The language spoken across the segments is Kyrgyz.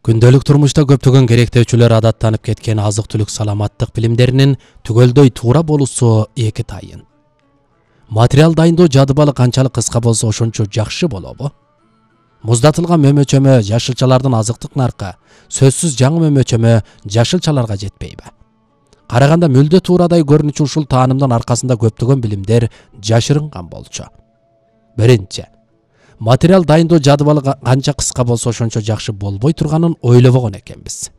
Күндөлүк турмушта көптөгөн керектөөчүлөр адаттанып кеткен азык-түлүк саламаттык билимдеринин түгөлдөй туура болуусу эки тайын. Материал дайындоо жадыбалы канчалык кыска болсо ошончо жакшы болобу? Муздатылган мөмөчөмө жашылчалардын азыктык наркы сөзсүз жаңы мөмөчөмө жашылчаларга жетпейби? Караганда мүлдө туурадай көрүнүчү ушул таанымдын аркасында көптөгөн билимдер жашырынган болчу. Биринчи, материал дайындоо жадыбалы канча кыска болсо ошончо жакшы болбой турганын ойлобогон экенбиз.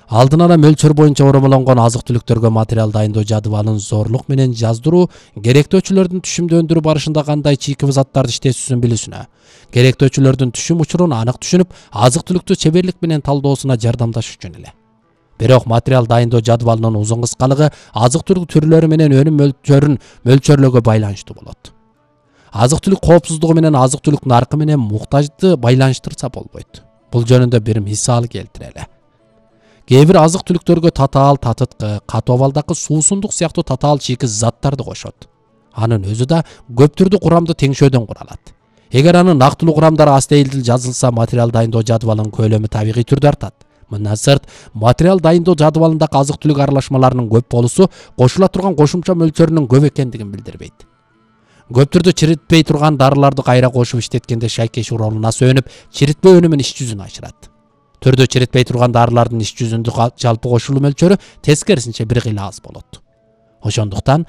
Алдын ала мөлчөр боюнча оромолонгон азык-түлүктөргө материал дайындоо жадыбалын зорлук менен жаздыруу керектөөчүлөрдүн түшүмдө барышында кандай чийкиби заттарды иштетүүсүн билүүсүнө, керектөөчүлөрдүн түшүм учурун анык түшүнүп, азык-түлүктү чеберлик менен талдоосуна жардамдашуу үчүн эле. Бирок материал дайындоо жадыбалынын узун кыскалыгы азык-түлүк түрлөрү менен өнүм мөлчөрүн мөлчөрлөөгө байланыштуу болот. Азык-түлүк коопсуздугу менен азык-түлүк наркы менен муктажды байланыштырса болбойт. Бул жөнүндө бир мисал келтирели. Кээ бир азык-түлүктөргө татаал, татыткы, катуу абалдагы суусундук сыяктуу татаал чийки заттарды кошот. Анын өзү да көп түрдүү курамды теңшөөдөн куралат. Эгер анын нактылуу курамдары астейилдил жазылса, материал дайындоо жадыбалынын көлөмү табигый түрдө артат. Мындан сырт, материал дайындоо жадыбалындагы азык-түлүк аралашмаларынын көп болуусу кошула турган кошумча мөлчөрүнүн көп экендигин билдирбейт. Көп түрдө чиритпей турган дарыларды кайра кошуп иштеткенде шайкеш ролуна сөнүп, чиритпөө өнүмүн иш жүзүн ашырат. Түрдө чиритпей турган дарылардын иш жүзүндө жалпы кошулуу мөлчөрү тескерисинче бир кыйла аз болот. Ошондуктан